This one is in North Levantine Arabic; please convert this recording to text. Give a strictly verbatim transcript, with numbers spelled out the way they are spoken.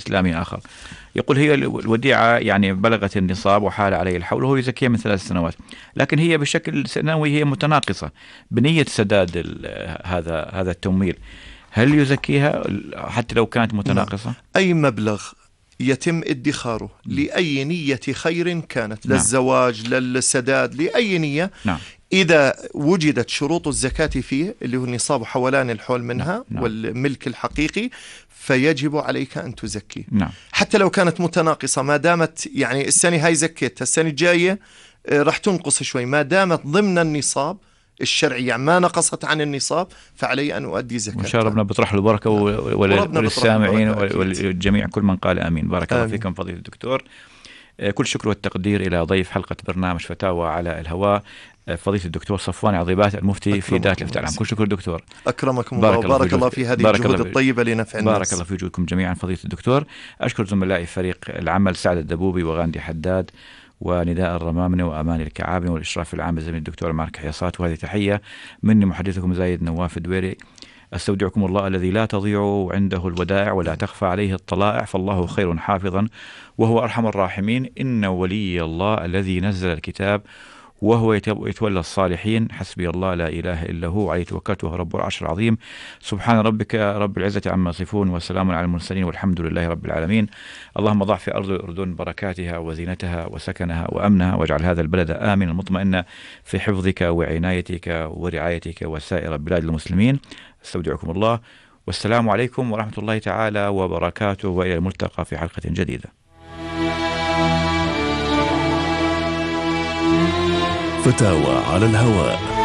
إسلامي آخر. يقول هي الوديعة يعني بلغت النصاب وحال عليه الحول وهو يزكيها من ثلاث سنوات، لكن هي بشكل سنوي هي متناقصة بنية سداد هذا هذا التمويل، هل يزكيها حتى لو كانت متناقصة؟ أي مبلغ يتم ادخاره لأي نية خير كانت، نعم. للزواج، للسداد، لأي نية، نعم. إذا وجدت شروط الزكاة فيه اللي هو النصاب حولان الحول منها، نعم. والملك الحقيقي، فيجب عليك أن تزكي. نعم. حتى لو كانت متناقصة، ما دامت يعني السنة هاي زكيتها، السنة الجاية رح تنقص شوي، ما دامت ضمن النصاب الشرعي يعني ما نقصت عن النصاب، فعلي أن أؤدي زكاة. وإن شاء الله ربنا بيطرح له البركة وللسامعين والجميع كل من قال آمين. بارك الله فيكم فضيلة الدكتور. كل شكر والتقدير إلى ضيف حلقة برنامج فتاوى على الهواء فضيلة الدكتور صفوان عظيبات المفتي في دائرة الإفتاء العام. كل شكر دكتور. أكرمكم الله وبارك الله في هذه الجهود الطيبة لنفع الناس. بارك الله في وجودكم جميعا فضيلة الدكتور. أشكر زملائي فريق العمل سعد الدبوبي وغاندي حداد ونداء الرمامنة وأمان الكعابنة والإشراف العام الزميل الدكتور مارك حياصات. وهذه تحية مني محدثكم زايد نواف الدويري. أستودعكم الله الذي لا تضيع عنده الودائع ولا تخفى عليه الطلائع، فالله خير حافظا وهو أرحم الراحمين. إن ولي الله الذي نزل الكتاب وهو يتولى الصالحين، حسبي الله لا إله إلا هو عليه توكلت وهو رب العرش العظيم. سبحان ربك رب العزة عما يصفون وسلام على المرسلين والحمد لله رب العالمين. اللهم ضع في أرض الأردن بركاتها وزينتها وسكنها وأمنها، واجعل هذا البلد آمنا مطمئنا في حفظك وعنايتك ورعايتك وسائر بلاد المسلمين. استودعكم الله والسلام عليكم ورحمة الله تعالى وبركاته، وإلى الملتقى في حلقة جديدة. فتاوى على الهواء.